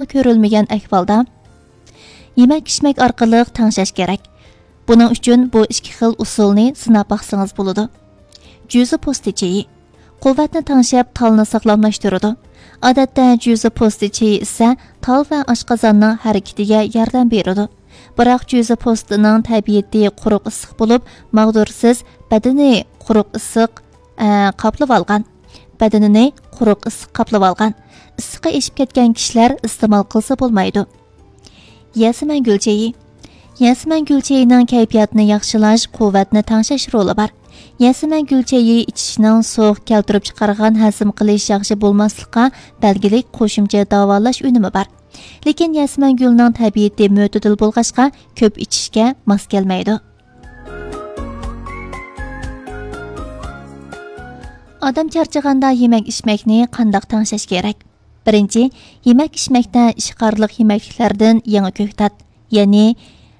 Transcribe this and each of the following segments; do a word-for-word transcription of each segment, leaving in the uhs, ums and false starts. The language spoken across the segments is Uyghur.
كۆرۈلمىگەن ئەھۋالدا يېمەك-ئىچمەك ئارقىلىق تەڭشەش كېرەك. بۇنىڭ ئۈچۈن بۇ ئىككى خىل ئۇسۇلنى سىناپ باقسىڭىز بولىدۇ. جۈزە پوستى چېيى. قۇۋۋەتنى تەڭشەپ، تالنى ساغلاملاشتۇرىدۇ. ئادەتتە جۈزە پوستى چېيى ئىچسە، تال ۋە ئاشقازاننىڭ ھەرىكىتىگە ياردەم بېرىدۇ. بىراق جۈزە پوستىنىڭ تەبىئىتى قۇرۇق ئىسسىق بولۇپ، ماغدۇرسىز، بەدىنى قۇرۇق ئىسسىق، ئە، قاپلىۋالغان. بەدىنىنى قۇرۇق ئىسسىق قاپلىۋالغان. ئىسسىقى ئېشىپ كەتكەن كىشىلەر ئىستېمال قىلسا بولمايدۇ. يەسىمەن گۈل چېيى. يەسىمەن گۈل چېيىنىڭ كەيپىياتنى ياخشىلاش، قۇۋۋەتنى تەڭشەش رولى بار. يەسىمەن گۈل چېيى ئىچىشنىڭ سوغۇق كەلتۈرۈپ چىقارغان ھەزىم قىلىش ياخشى بولماسلىققا بەلگىلىك قوشۇمچە داۋالاش ئۈنۈمى بار. لېكىن يەسىمەن گۈلنىڭ تەبىئىتى مۆتىدىل بولغاچقا، كۆپ ئىچىشكە ماس كەلمەيدۇ. ئادەم چارچىغاندا يېمەك-ئىچمەكنى قانداق تەڭشەش كېرەك؟ بىرىنچى، يېمەك-ئىچمەكتە ئىشقارلىق يېمەكلىكلەردىن يېڭى كۆكتات، يەنى،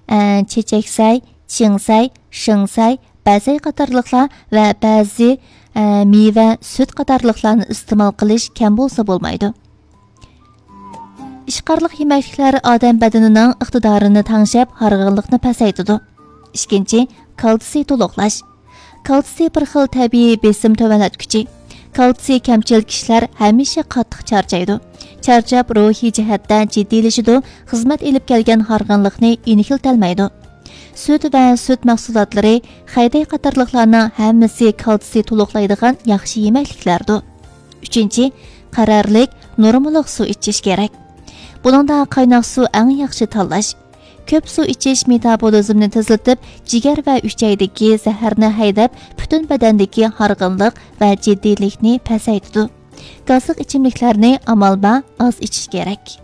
ئە، چېچەكسەي، چىڭسەي، شىڭسەي، بەزەي قاتارلىقلار ۋە بەزى، ئە، مېۋە، سۈت قاتارلىقلارنى ئىستېمال قىلىش كەم بولسا بولمايدۇ. ئىشقارلىق يېمەكلىكلەر ئادەم بەدىنىنىڭ ئىقتىدارىنى تەڭشەپ، ھارغىنلىقنى پەسەيتىدۇ. ئىككىنچى، كالتسىي تولۇقلاش. كالتسىي بىر خىل تەبىئىي بېسىم تۆۋەنلەتكۈچى. كالتسىي كەمچىل كىشىلەر ھەمىشە قاتتىق چارچايدۇ. چارچاپ، روھىي جەھەتتە جىددىيلىشىدۇ، خىزمەت ئېلىپ كەلگەن ھارغىنلىقنى يېنىكلىتەلمەيدۇ. سۈت ۋە سۈت مەھسۇلاتلىرى، خەيدەي قاتارلىقلارنىڭ ھەممىسى كالتسىي تولۇقلايدىغان ياخشى يېمەكلىكلەردۇر. ئۈچىنچى، قەرەرلىك، نورمىلىق سۇ ئىچىش كېرەك. بۇنىڭدا قايناق سۇ ئەڭ ياخشى تاللاش. كۆپ سۇ ئىچىش مېتابولىزمنى تېزلىتىپ، جىگەر ۋە ئۈچەيدىكى زەھەرنى ھەيدەپ، پۈتۈن بەدەندىكى ھارغىنلىق ۋە جىددىيلىكنى پەسەيتىدۇ. گازلىق ئىچىملىكلەرنى ئامال بار ئاز ئىچىش كېرەك.